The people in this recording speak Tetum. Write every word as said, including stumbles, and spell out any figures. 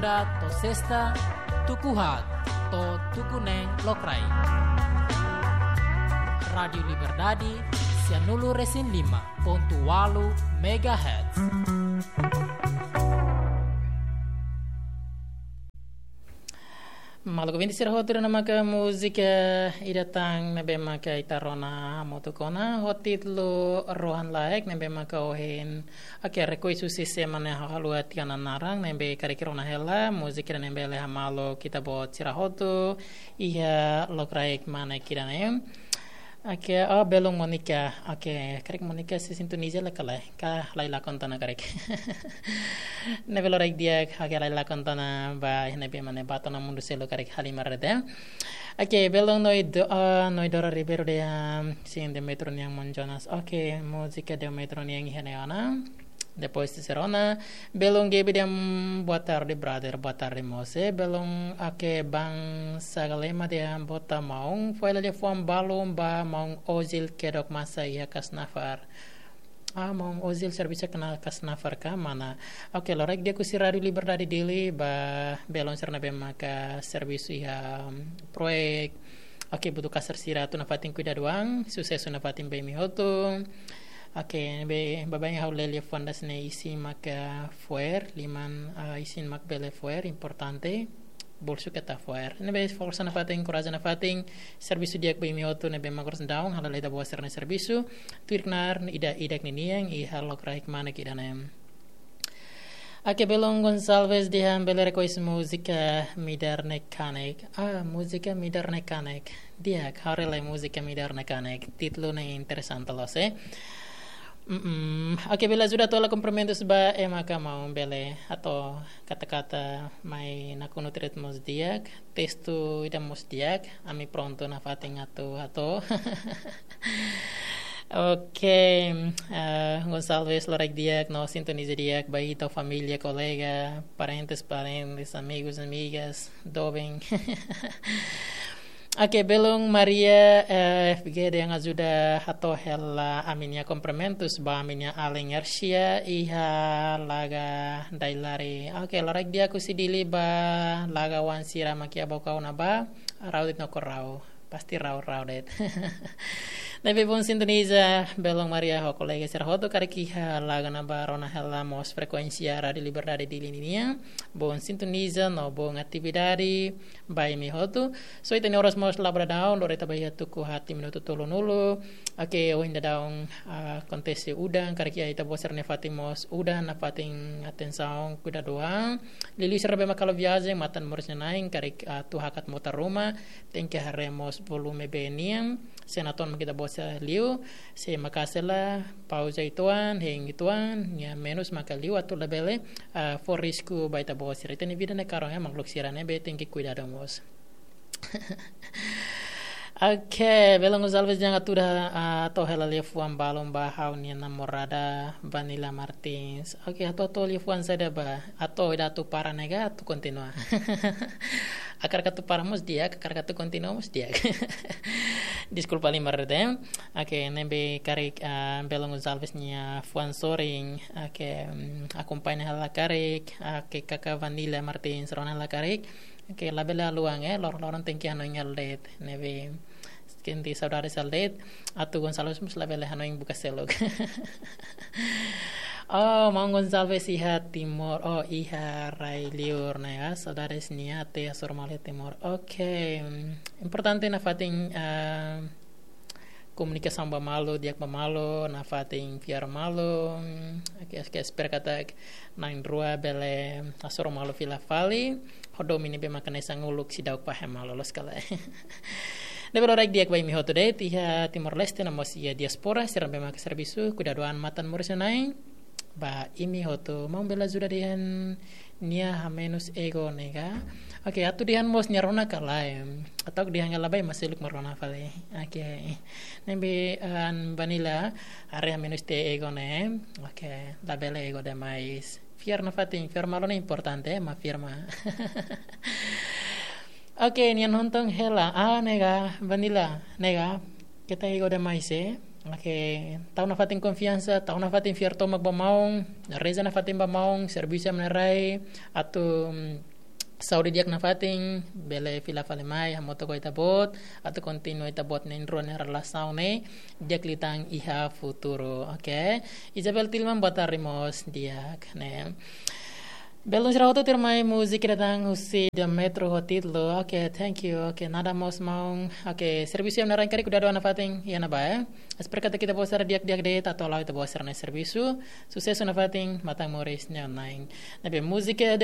To'o sesta, tuku haat to'o tuku neen lokraik. Rádiu Liberdade, sia nulu resin lima pontu ualu megahertz. Maluk ouvinte sira hotu, ne'e maka múzika ida tan ne'ebé maka ita rona hamutuk ona ho títulu Rohan Laek, ne'ebé maka ohin, oke, rekois husi semana ne'e ha'u haluha tiha ona naran, ne'ebé karik rona hela múzika ida ne'ebé bele hamaluk ita-boot sira hotu iha lokraik mane kira ne'e. Oke, oh, belun Monica. Oke, karik Monica sei sintoniza lai ka lae. Ka halai lakon tiha ona karik. Ne'ebé loraik di'ak, oke, halai lakon tiha ona ba, ne'ebé mane ba to'o ona mundu seluk karik halimar de'it. Oke, belun Noi Do-, ah, Noi Dora Ribeiro dehan, sin, Demetrio nian maun Jonas. Oke, múzika Demetrio nian iha ne'e ona. Depois sira rona, belun Gaby dehan, boa tarde, brother, boa tarde, moço. Belun, oke, Bang Sagalema dehan, boa tarde, maun. Fó hela liafuan balun ba maun Ozil kedok masa iha Kasnafar. Ah, maun Ozil servisu iha Kasnafar ka, mana? Oke, loraik di'ak husi Rádiu Liberdade Dili ba belun sira ne'ebé maka servisu iha, mm, proyek. Oke, butuh kasar sira atu nafatin kuidadu an, susesu nafatin ba imi hotu. Oke, ne'ebé baibain ha'u lee liafuan das ne'e isin maka fo'er, liman, ah, isin mak bele fo'er, importante, bolsu keta fo'er. Ne'ebé forsa nafatin, korajen nafatin, servisu di'ak ba imi hotu, ne'ebé mak oras daudaun halo lee ita-boot sira-nia servisu, tuir knaar ida-idak ninian, iha lokraik mane kira ne'e. Oke, belun Gonçalves dehan bele rekois múzika Midar Ne'e Kanek. Ah, múzika Midar Ne'e Kanek. Di'ak, haree lai múzika Midar Ne'e Kanek. Títulu ne'e interesante loos, eh. Mm-mm. Oke, bele ajuda hato'o hela kumprimentus ba ema ka maun, bele, hato'o kata-kata mai nakonu tret mós di'ak, testu ida mós di'ak, ami prontu nafatin atu hato'o. Oke, eh, Gonçalves, loraik di'ak no sintoniza di'ak ba ita-nia família, kolega, parentes, parentes, amigos, amigas, doben. Oke, belun Maria, eh, F G dehan ajuda hato'o hela ami-nia kumprimentus ba ami-nia alin Ersia iha Laga Dailari. Oke, loraik di'ak husi Dili ba Laga oan sira mak iha Baucau ne'ebá, rau de'it no korau. Pasti rau, rau de'it. Ne'ebé bom sintoniza, belun Maria ho kolega sira hotu karik iha Laga ne'ebá rona hela mós frekuénsia Rádiu Liberdade Dili ninian. Bom sintoniza no bom atividade ba imi hotu. So, ita-nia oras mós la'o ba daudaun, lori ita ba iha tuku haat minutu tolunulu. Oke, ohin daudaun, ah, akontese udan, karik iha ita-boot sira-nia fatin mós udan, nafatin atensaun, kuidadu an. Liuliu sira ne'ebé mak halo viajen matan moris nia na'in, karik, ah, atu hakat mota ruma, tenke haree mós volume bee nian, se natoon mak ita-boot sira liu, se maka'as hela, pauza uitoan, hein uitoan, nia menus maka liu atu labele, ah, fó risku ba ita-boot sira. Ita-nia vida ne'e karón, eh, makhluk sira ne'ebé tenke kuidadu mós. Oke, belun Gonçalves dehan atu hato'o hela liafuan balun ba ha'u-nia namorada Vanilla Martins. Oke, atu hato'o liafuan saida ba, atu ida atu para ne'e ka atu kontinua. Hakarak atu para mós di'ak, hakarak atu kontinua mós di'ak. Deskulpa halimar de'it. Oke, ne'ebé karik, ah, belun Gonçalves nia fuan sorin. Oke, mm, akompaña hela karik. Oke, kaka Vanilla Martins rona hela karik. Oke, labele haluha, eh, loron-loron tenke hanoin hela de'it. Ne'ebé sente saudades hela de'it. Atu Gonçalves mós labele hanoin buka seluk. Oh, maun Gonçalves iha Timor. Oh, iha rai liur ne'e ka. Saudades nia, atu hasoru malu iha Timor. Oke. Mm, importante nafatin, ah, komunikasaun ba malu, di'ak ba malu, nafatin fiar malu. Oke, oke, espera katak na'in-rua bele hasoru malu fila fali. Ho domin ne'ebé maka hanesan uluk seidauk fahe malu, loos ka lae. Ne'ebé loraik di'ak ba imi hotu de'it, iha Timor-Leste no mós iha diáspora, sira ne'ebé maka servisu, kuidadu an matan moris nia na'in. Ba imi hotu, maun bele ajuda dehan nia hamenus ego ne'e ka. Oke, atu dehan mós nia rona ka lae. Atu dehan ka lae, ba ema seluk mak rona fali. Oke. Ne'ebé, ah, Vanilla, haree hamenus tiha ego ne'e. Oke, labele ego demais. Fiar nafatin, fiar malu ne'e importante, ema fiar malu. Oke, nia nonton hela. Ah, ne'e ka, Vanilla, ne'e ka. Keta ego demais, eh. Oke, tau nafatin konfiansa, tau nafatin fiar tomak ba maun, reza nafatin ba maun, servisu ema nia rai, atu, mm, Saúde di'ak nafatin, bele fila fali mai, hamutuk ho ita-boot, atu kontinua ita-boot na'in-rua nia relasaun ne'e, di'ak liután iha futuru, oke? Isabel Tilman, boa tarde mós, di'ak, ne'e. Belun sira hotu, tuirmai múzika ida tan husi The Metro ho títulu, oke, thank you, oke, nada mós maun, oke, servisu iha ne'e karik udah doa nafatin, iha ne'ebá, eh? Espera katak ita-boot sira di'ak-di'ak de'it, atu hala'o ita-boot sira-nia servisu, susesu nafatin, matan moris neon nain. Ne'ebé múzika